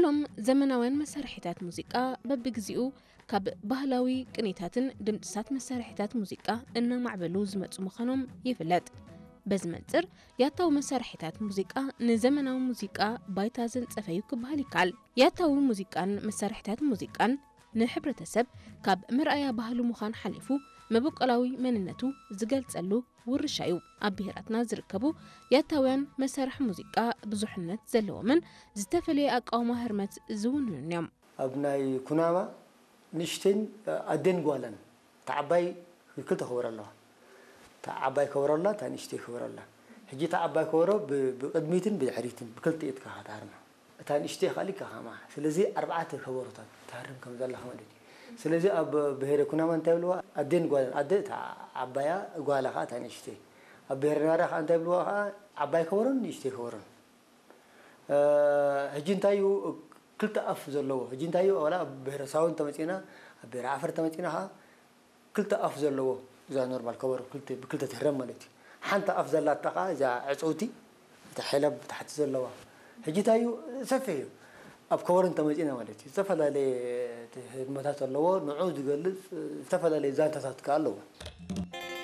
እቶም ዘመናውያን መሳርሒታት ሙዚቃ በብግዜኡ ካብ ባህላዊ ቅኒታትን ድምጽታት መሳርሒታት ሙዚቃ እናማዕበሉ ዝመጹ ምዃኖም ይፍለጥ። በዚ መንጽር ያታዊ መሳርሒታት ሙዚቃ ንዘመናዊ ሙዚቃ ባይታ ዘንጸፈ እዩ ክበሃል ይከኣል። ያታዊ ሙዚቃን መሳርሒታት ሙዚቃን ንሕብረተሰብ ካብ መርኣያ ባህሉ ምዃን ሓሊፉ መበቆላዊ መንነቱ ዝገልጸሉ ውርሻ እዩ። ኣብ ብሄራትና ዝርከቡ ያታውያን መሳርሒ ሙዚቃ ብዙሕነት ዘለዎምን ዝተፈላለየ ኣቃውማ ህርመት ዝውንኑን እዮም። ኣብ ናይ ኩናማ ንእሽተይን ኣዴን ጓለን፣ እታ ዓባይ ክልተ ከበሮ ኣለዋ። እታ ዓባይ ከበሮ ኣላ፣ እታ ንእሽተይ ከበሮ ኣላ። ሕጂ እታ ዓባይ ከበሮ ብ- ብቕድሚትን ብድሕሪትን ብክልተ ኢድካ ትሃርማ። እታ ንእሽተይ ካልእ ከማኻ። ስለዚ ኣርባዕተ ከበሮታት ትሃርም ከም ዘለኻ ማለት እዩ። ስለዚ ኣብ ብሄረ ኩናማ እንታይ ይብልዋ? ኣዴን ጓልን። ኣደ እታ ዓባያ፣ ጓላ ከዓ እታ ንእሽተይ። ኣብ ብሄረ ናራ ከዓ እንታይ ይብልዋ ከዓ? ዓባይ ከበሮን ንእሽተይ ከበሮን። ሕጂ እንታይ እዩ ክልተ ኣፍ ዘለዎ? ሕጂ እንታይ እዩ ዋላ ኣብ ብሄረ ሳሆ እንተመፂና፣ ኣብ ብሄረ ዓፈር እንተመፂና ከዓ ክልተ ኣፍ ዘለዎ፣ እዛ ኖርማል ከበሮ ክልተ ብክልተ ትህረም ማለት እዩ። ሓንቲ ኣፍ ዘላታ ከዓ እዛ ዕፅውቲ፣ እታ ሐለብ ታሕቲ ዘለዋ። ሕጂ እንታይ እዩ ሰፊሕ እዩ። ኣብ ከበሮ እንተመፂና ማለት እዩ ዝተፈላለየ ህርመታት ኣለዎ። ንዑ ዝገልፅ ዝተፈላለየ ዛንታታት ከዓ ኣለዎ።